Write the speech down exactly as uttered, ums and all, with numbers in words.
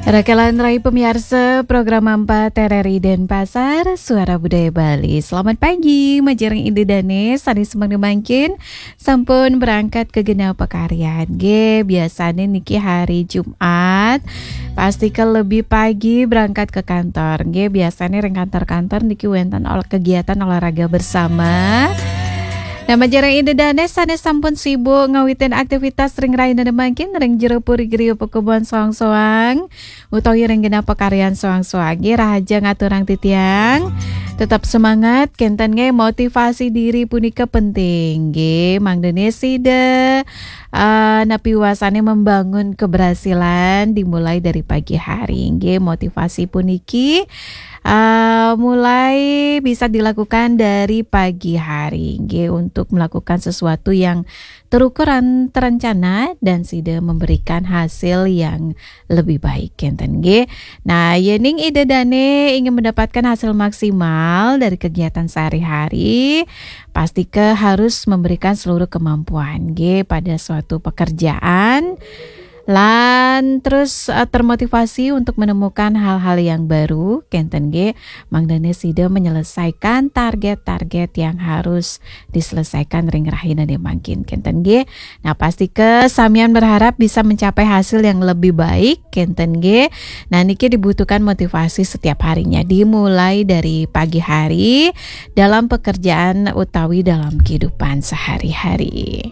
Rakalan rai pemiarsa program empat R R I Denpasar, Suara Budaya Bali. Selamat pagi, majeng ring Ida Dane, sané semeng mangkin, sampun berangkat ka genah pakaryan. Nggih, biasané niki hari Jumat, pastika lebih pagi berangkat ke kantor. Nggih, biasané ring kantor-kantor niki wénten ol-, kegiatan olahraga bersama. Nah, majeng ring Ida Dane, sané sampun sibuk ngawitin aktivitas ring rahinané mangkin, ring jero puri griya pakebon soang-soang, utawi ring genah pakaryan soang-soang. Nggih, rahajeng aturang titiang. Tetap semangat, kénten nggih, motivasi diri punika penting. Nggih, mangdané sida, eh, napi wasané membangun keberhasilan dimulai dari pagi hari. Nggih, motivasi puniki, eh, mulai bisa dilakukan dari pagi hari. Nggih, untuk melakukan sesuatu yang terukur dan terencana dan sida memberikan hasil yang lebih baik, kénten nggih. Nah, yéning Ida Dane ingin mendapatkan hasil maksimal dari kegiatan sehari-hari, pastika harus memberikan seluruh kemampuan nggih pada suatu pekerjaan. Lan terus, eh, termotivasi untuk menemukan hal-hal yang baru, kénten nggih, mangdané sida menyelesaikan target-target yang harus diselesaikan ring rahinané mangkin, kénten nggih. Nah, pastika samian berharap bisa mencapai hasil yang lebih baik, kénten nggih. Nah, niki dibutuhkan motivasi setiap harinya, dimulai dari pagi hari, dalam pekerjaan utawi dalam kehidupan sehari-hari.